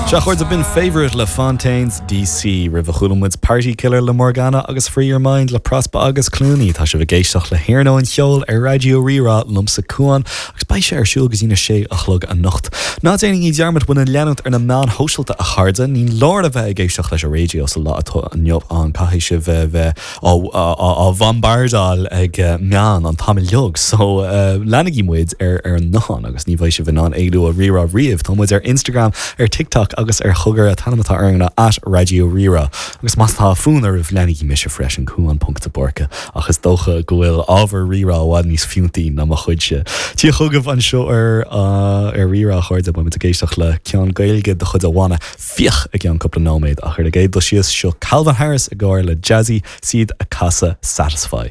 Sea, a chairde, b'in Favourite le Fontaines DC. Roimhe chuala muid Party Killer le Morgana agus Free Your Mind le Prospa agus Clooney. Tá sibh ag éisteacht le hIarnóin Cheoil ar Raidió Rí-Rá liomsa Cuán agus beidh sé ar siúl go dtí na sé a chlog anocht. Ná déanaigí dearmad muid a leanúint ar na meáin shóisialta a chairde. Ní leor a bheith ag éisteacht leis an raidió sa lá atá inniu ann, caithfidh sibh a bheith á bhombardáil ag meáin an t-am uilig so leanaigí muid ar ar an nguthán agus ní bheidh sibh in ann éalú ó Rí-Rá riamh. Tá muid ar Instagram, ar TikTok agus ar Chogar. An t-ainm atá orainn ná at Raidió Rí-Rá. Agus más tá fonn oraibh leanaigí mise freisin, Cuan ponc de Búrca. Ach is dócha go bhfuil ábhar Rí-Rá i bhfad níos fiúntaí ná mo chuidse. Tia chugaibh anseo ar ar Rí-Rá a chairde, beidh muid ag éisteacht le ceann Gaeilge de chuid an bhanna Fiach i gceann cúpla nóiméad ach ar an gcéad dul síos, seo Calvin Harris i gcomhar le Jazzy 's iad ag casadh Satisfy.